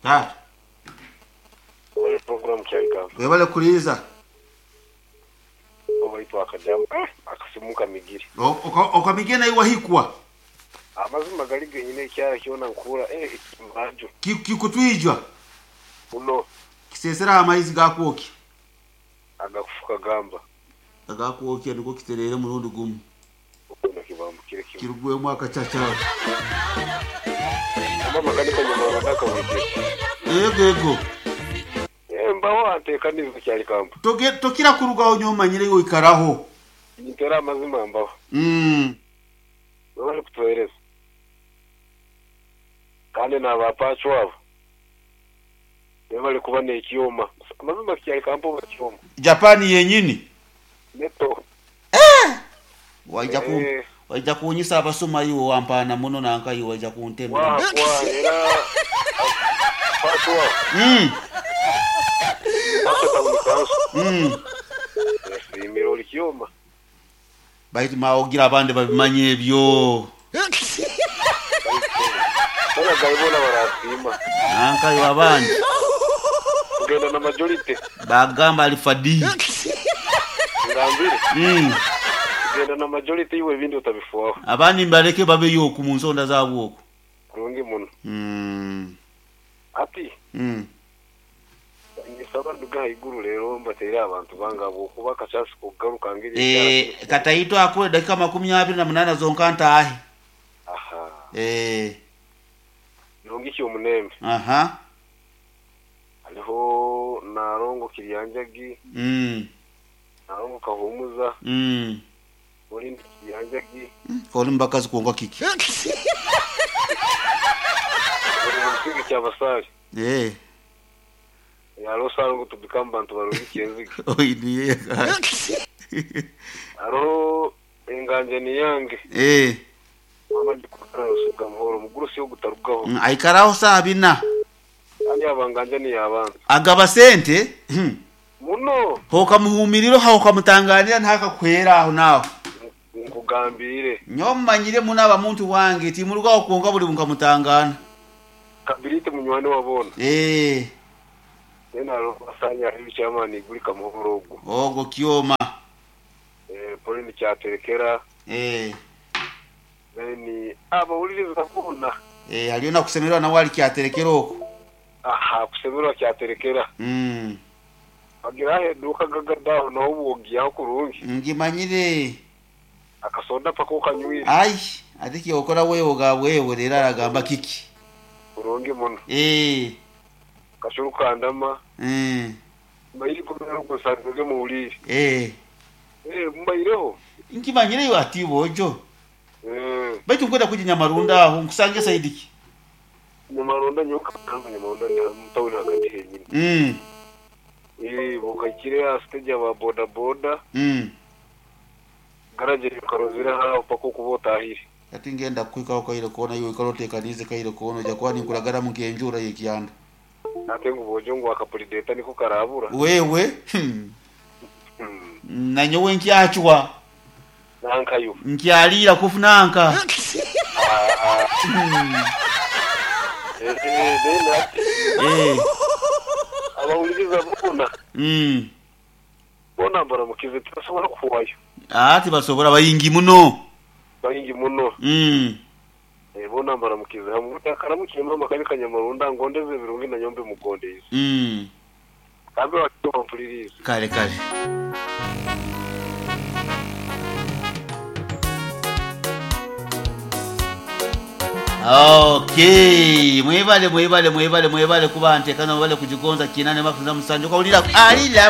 Taata. Webale program Kyarikamba. Webale kuliiza. Owaitu akajamu eh akasimu nkamigire. Okamigire naiwe wahikwa. Amazima gari genyine ekyara kyona nkuhura eh ekimbajo. Kikutwijwa. Muno. Kisesera amaizi gakwokya. Agakufuka gamba. Agakwokya nigwo kitereere murundi gumu. Okuna kibambukire kimwe. Kirugwemu akacaca. Mama kanika nyuma ndakawije. Ego ego. Eh mbaho antekaniza Kyarikamba. Tokira kurugaho nyomanyire iwe oikaraho. Nintera amazima mbaho. Webale kutuhereza. Kandi n'abapachu abo. Webale kuba n'ekyoma. Amazima Kyarikamba oba kyoma. Japan yenyini. Neto. Eh! Waija ku waija kunyisa abasoma iwe wampaana muno nanka iwe waija kuntema. Wa wa era pachu abo. Pachu town council. Yasimira oli kyoma. Baitu maogira abandi babimanye ebyo. Bona gaibona barasiima. Nanka iwe abandi. Kugenda na majority. Bagamba alifadi. Ngambire. Kugenda na majority iwe ebindi otabifuaho. Abandi mbaleke babeyo oku mu nsonda zaabwe oku. Kurungi muno. Ati. Nisaba nduga iguru rero mbateire abantu banga okuba akachasi kugaruka ngeri. Kataito akule dakika 28 zonka ntaahe. Aha. Birungi ki omunembe. Aha. Hariho Narongo Kiryanjagi. Narongo Kahumuza. Olindi Kiryanjagi. Koli mbakazi kwonka kiki. Buri musingi kyabasari. Hariho Sarongo tubikamu bantu barungi kyenzige. Oiniye. Hariho enganje ni yange. Mama ndikukara rusuga muhoro mugurusi yo gutarugaho. Aikaraho saa bina. Kandi abanganje ni yabanza. Agaba sente. Muno. Hokamuhumiriro hokamutanganira ntakakwera aho naho. Nkugambire. Nyomanyire munaba muntu wange timurugaho kwonka buri nkamutangana. Kabirite munywani wabona. Nena asanya ebikyamani guri kamuhoro ogwo. Ogo kyoma. Polini kyaterekera. Then abawuliriza bona. Haliyo nakusemerwa nawe ali kyaterekera okwo. Aha, kusemerwa kyaterekera. Bagira aheduka gagadaho naho bwogiyaho kurungi. Ngimanyire. Akasonda paka okanywire. Ai, ate kyokora wewe ga wewe rero aragamba kiki. Kurungi muno. Kashuru kandama. Mbairi kumera kusanzwe muwulire. Mbaireho. Nkimanyire iwe ati bojo. Baitu nkwenda kuja Nyamarunda aho nkusange saidiki. Nyamarunda nyoka kamba Nyamarunda mutawuni hagati henyine. Bukakire stage aba boda boda. Garage karozira hapo pako kubotahire. Ati ngenda kwikaho kaire kona iwe ikarotekanize kaire kona jakuwa ninkuragara mukenjura yekyanda. Ate ngu bojo ngu akapulideta niko karabura. Wewe. Nanyowe nkyachwa. Nankayo. Nkyalira kufunanka. Abawuliriza bona. Bona baramukize tibasobola kuwayo. Tibasobola bayingi muno. Bayingi muno. Bona baramukize hamwe akaramukiye mama kabika Nyamarunda ngondeze birungi na nyombe mugondeze. Kambe wakiwa. Kale kale. Okay, mwebale mwebale mwebale mwebale kuba ntekana mwebale kujigonza kinane mafuza musanju kaulira alila.